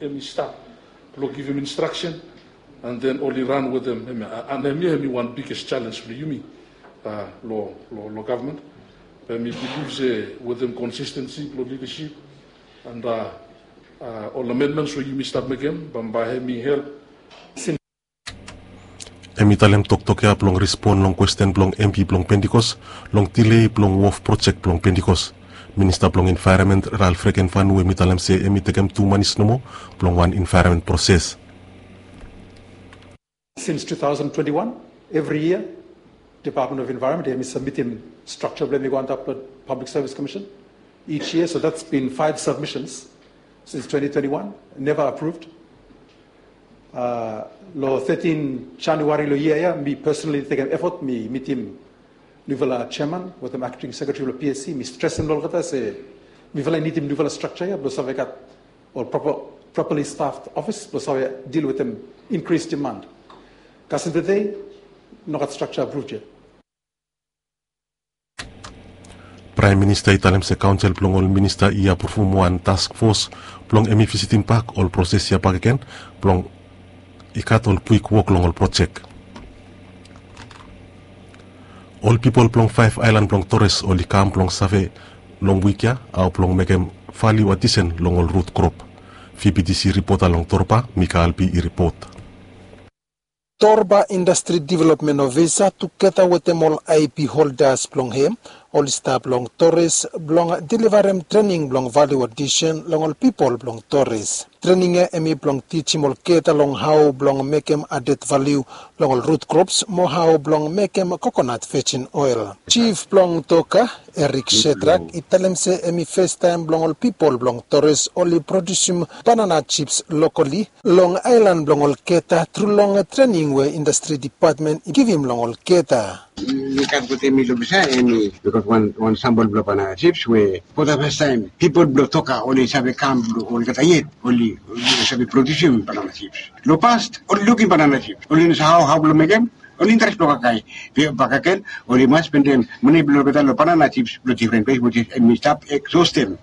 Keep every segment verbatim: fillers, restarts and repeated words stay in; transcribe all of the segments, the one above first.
Hemi stap blong givim instraksen, and then oli ran wetem hemia. And hemia hemi wan biggest challenge blong yumi long gavman. Be mi bilif se wetem consistency blong lidasip and ol amendments we yumi stap mekem, bambae hemi help. Hemi talem toktok ya blong respon long kwesten blong MP blong Pentecost long delay blong wof projek blong Pentecost. Minista blong Environment Ralph Regenvanu hemi talem se hemi tekem tu manis nomo blong wan environment proses. Since two thousand twenty-one, evri yia Department of Environment hemi sabmitim strakja blong hemi go antap long Public Service Commission each year. So that's been five submissions since twenty twenty-one, never approved. Long thirteen January long yia ya, mi personally tekem effort, mi mitim nufala chairman wetem acting secretary blong PSC, mi stresem long olgeta se mifala i nidim nufala strakja ya blong save gat ol properly staffed office blong save deal wetem increased demand. Kasem tede, nogat strakja approved yet. Praem Minista i talem se kaonsel blong ol minista i apruvum wan task fos blong hemi visitim bak ol proses ya bakegen blong i gat ol kwik wok long ol projek. Ol pipol blong faef aelan blong Torres oli kam blong save long wik ya hao blong mekem valiu adisen long ol rut krop. VBTC ripota long Torba, Mika Albi i ripot. Torba Indastri Developmen Ofisa tugeta wetem ol IP holdas blong hem oli stap long Torres blong delivarem trening blong valiu adisen long ol pipol blong Torres. Trening ya hemi blong tijim olgeta long hao blong mekem adet valiu long ol rut krops mo hao blong mekem kokonat vejin oel. Jif blong Toka, Erik Shedrak, i talem se hemi festaem blong ol pipol blong Torres oli produsim banana jips lokali long aelan blong olgeta tru long trening we Indastri Depatmen i givim long olgeta. Mi gat wetem mi long besa, hemi, mi gat wan sambol blong banana jips we for the first time pipol blong Toka oli save kam blong olgeta yet oli save produsim banana jips. Long pas oli lukim banana jips, oli no save hao blong mekem, oli interes blong kakae. Be bakegen oli mas spendem mane blong olgeta long banana jips long difren ples, which is hemi stap egzostem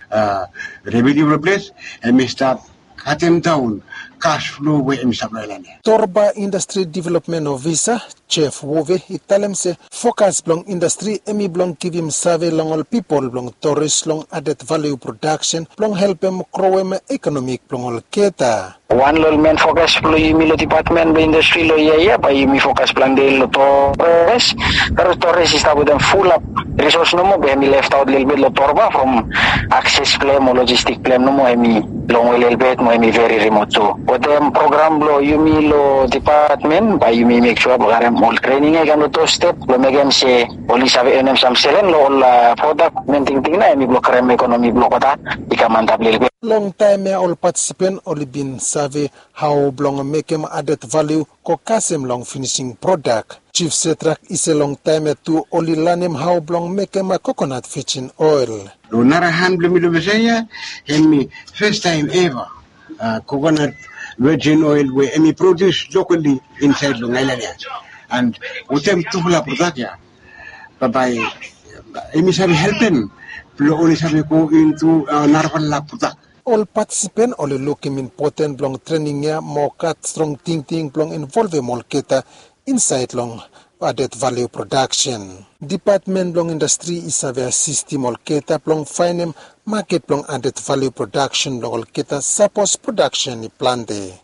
revenu blong ples, hemi stap katem daon kas flo we hemi stap long aelan ya. Torba Indastri Developmen Ofisa Jeff Wove i talem se fokas blong indastri hemi blong givim save long ol pipol blong Torres long adet valiu prodaksen blong helpem growem ekonomik blong olgeta. Wan long ol men fokas blong yumi long depatmen blong indastri long yia ya bae yumi fokas plante long Torres. Torres i stap wetem fulap risos nomo be hemi leftaot lelebet long Torba from akses blong hem o lojistik blong hem nomo hemi longwe lelebet mo hemi veri rimot tu. Wetem program blong yumi long depatmen bae yumi mek sua blong karem ol trening ya i kam long tu step blong mekem se oli save enem sam selen long ol prodak. Men tingting nao hemi blong karem ekonomi blong olgeta i kam antap lelebet. Long taem ya ol patisipen oli bin save hao blong mekem adet valiu go kasem long finising prodak. Jif Sedrak i se long taem ya tu oli lanem hao blong mekem kokonat vejin oel. Long nara han blong mi long Mesaia, hemi festaem eva kokonat vejin oel we hemi produs lokali insaed long aelan ya. And wetem tufala prodak ya bambae hemi save helpem blong oli save go intu narafala prodak. Ol patisipen oli lukim impoten blong trening ya mo gat strong tingting blong involvem olgeta insaed long adet valiu prodaksen. Depatmen blong indastri i save asistim olgeta blong faenem maket blong adet valiu prodaksen blong olgeta sapos prodaksen i plante.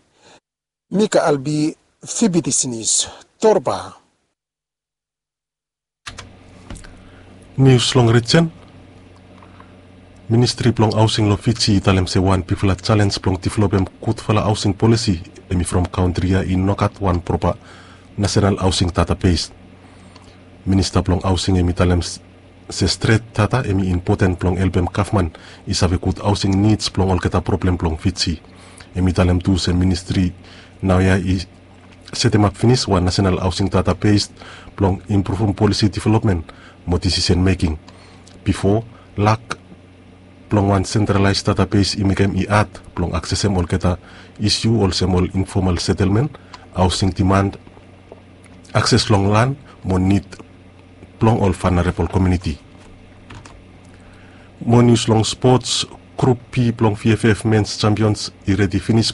Mika Albi, Fibidis Nius, Torba. Nius long rijen. Ministri blong haosing long Fiji i talem se wan bigfala jalenj blong developem gudfala haosing polisi hemi from kantri ya i no gat wan propa nasenal haosing databes. Minista blong haosing hemi talem se stret data hemi impoten blong helpem gavman i save gud haosing nids blong olgeta problem blong Fiji. Hemi talem tu se ministri naoia i setemap finis wan nasenal haosing databes blong impruvum polisi developmen mo disisen meking. Bifo, lak blong wan sentralaes databes i mekem i had blong aksesem olgeta isiu olsem ol infomal setelmen, haosing diman, akses long lan mo nid blong ol vanarebol komuniti. Mo nius long spots. Grup B blong V F F Men's Champions i redi finis blong